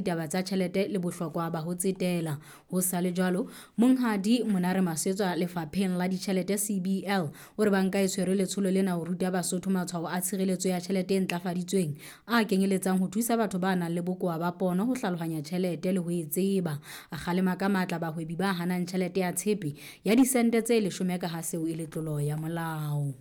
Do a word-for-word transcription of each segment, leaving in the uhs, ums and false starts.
ditaba tsa tjhelete le bohlokwa ba ho tsetela. Ho sa le jwalo, Monghadi Monare Masetswa lefapheng la ditjhelete C B L o re banka e tshwere letsholo lena ho ruta Basotho matshwao a tshireletso ya tjhelete e ntlafaditsweng a kenyeletsang ho thusa batho ba nang le bokowa ba pono ho hlalohanya tjhelete le ho e tseba. A kgalema ka matla bahwebi ba hanang tjhelete ya tshepe ya disente tse leshome ka ha seo e le tlolo ya molao.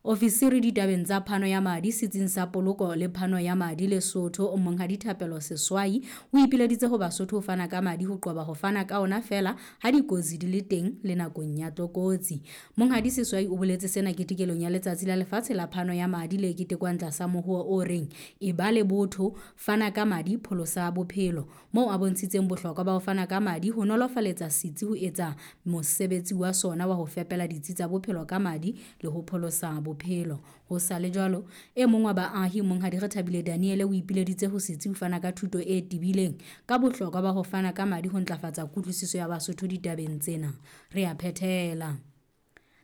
Ofisiri ditabeng tsa phano ya madi setsing sa poloko le phano ya madi Lesotho Monghadi Thapelo Seswai o ipileditse ho Basotho ho fana ka madi ho qoba ho fana ka ona feela ha dikotsi di le teng le nakong ya tlokotsi. Monghadi Seswai o boletse sena ketekelong ya letsatsi la lefatshe la phano ya madi le ketekwang tlasa mohuo o reng e ba le botho, fana ka madi, pholosa bophelo, moo a bontshitseng bohlokwa ba ho fana ka madi ho nolofaletsa setsi ho etsa mosebetsi wa sona wa ho fepela ditsi tsa bophelo ka madi le ho pholosa bophelo. Bophelo. Ho sa le jwalo, e mong wa baahi Monghadi Rethabile Daniele o ipileditse ho setsi ho fana ka thuto e tebileng ka bohlokwa ba ho fana ka madi ho ntlafatsa kutlwisiso ya Basotho ditabeng tsena. Re a phethela.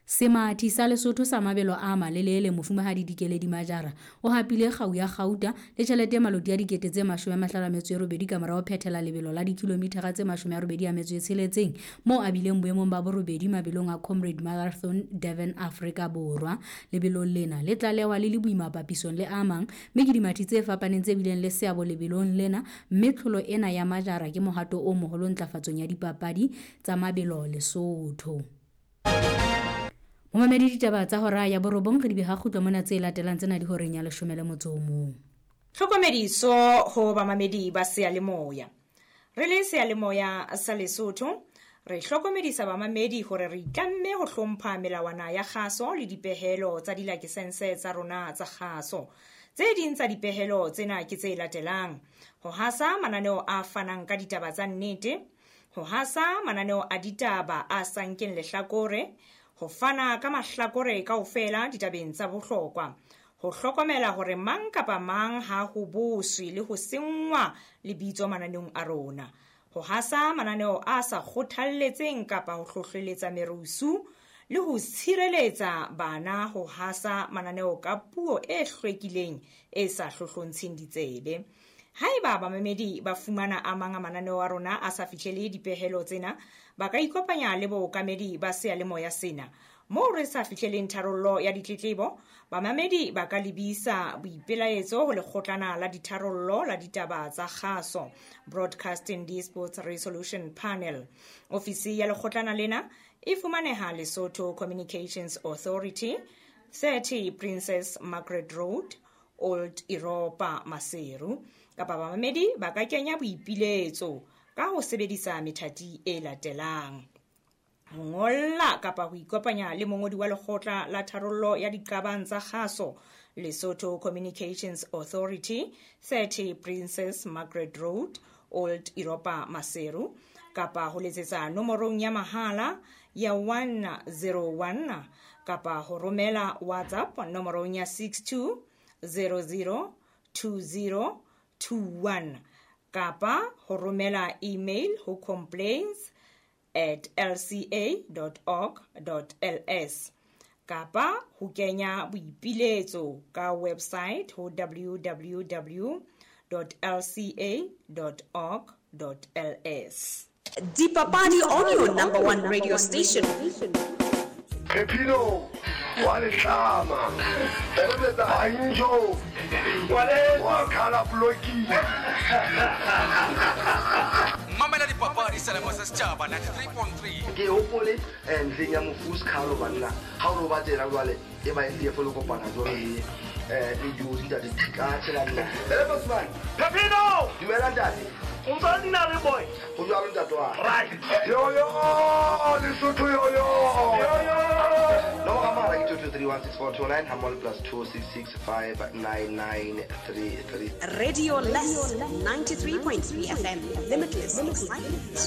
Semathi sa Lesotho sa mabelo a malelele Mofumahadi Dikeledi Majara o hapile kgau ya kgauta le tjhelete e maloti ya dikete tse mashome a mahlano a metso e robedi ka morao ho phethela lebelo la dikilomithara tse mashome a robedi a metso e tsheletseng moo a bileng boemong ba borobedi mabelong a Comrade Marathon Durban Afrika Borwa. Lebelong lena le tlalehwa le le boima papisong le a mang, mme ke dimathi tse fapaneng tse bileng le seabo lebelong lena, mme tlholo ena ya Majara ke mohato o moholo ntlafatsong ya dipapadi tsa mabelo Lesotho. Momamedi ditaba tsa hora ya borobong re di beha kgutlo mona tse latelang tsena di horeng ya leshome le motso o mong. Tlhokomediso ho bamamedi ba seyalemoya. Re le seyalemoya sa Lesotho, re hlokomedisa bamamedi hore re itlamme ho hlompha melawana ya kgaso le dipehelo tsa dilakesense tsa rona tsa kgaso. Tse ding tsa dipehelo tsena ke tse latelang: ho hasa mananeo a fanang ka ditaba tsa nnete, ho hasa mananeo a ditaba a sa nkeng lehlakore, ho fana ka mahlakore kaofela ditabeng tsa bohlokwa, ho hlokomela hore mang kapa mang ha ho boswe le ho senngwa lebitso mananeong a rona, ho hasa mananeo a sa kgothalletseng kapa ho hlohleletsa merusu, le ho tshireletsa bana ho hasa mananeo ka puo e hlwekileng e sa hlohlontsheng ditsebe. Haeba bamamedi ba fumana a mang a mananeo a rona a sa fihlele dipehelo tsena, ba ka ikopanya le bookamedi ba seyalemoya sena. Moo re sa fihleleng tharollo ya ditletlebo, bamamedi ba ka lebisa boipelaetso ho lekgotlana la ditharollo la ditaba tsa kgaso, Broadcasting Disputes Resolution Panel. Ofisi ya lekgotlana lena e fumaneha Lesotho Communications Authority, thirty Princess Margaret Road, Old Europa, Maseru. Kapa bamamedi ba ka kenya boipiletso ka ho sebedisa methati e latelang: ho ngolla kapa ho ikopanya le mongodi wa lekgotla la tharollo ya diqabang tsa kgaso, Lesotho Communications Authority, thirty Princess Margaret Road, Old Europa, Maseru, kapa ho letsetsa nomorong ya mahala ya one zero one kapa ho romela WhatsApp nomorong ya six two zero zero two zero two one kapa ho romela email ho complaints at l c a dot org dot l s kapa ho kenya boipiletso ka website ho w w w dot l c a dot org dot l s. Dipapadi on your number one radio station. Pepino wa letlama Banjo wa khala bloki. Mamela dipapadi selemo sa setjhaba ninety-three point three. Ke hopole ntleng ya mofu Skhalo banna ha o ba tsela jwale e ba e folo kopana jwale eh le dijo ntate ka tshela nna. Ele Bosman Pepino dumela ntate. O ntse dina le boy. O jwalo ntate wa. Right. Yo yo Lesotho yo yo. Yo yo. No amara ke two two three one six four two nine hamol plus two six six five nine nine three three. Radio Less ninety-three point three F M. Limitless excitement.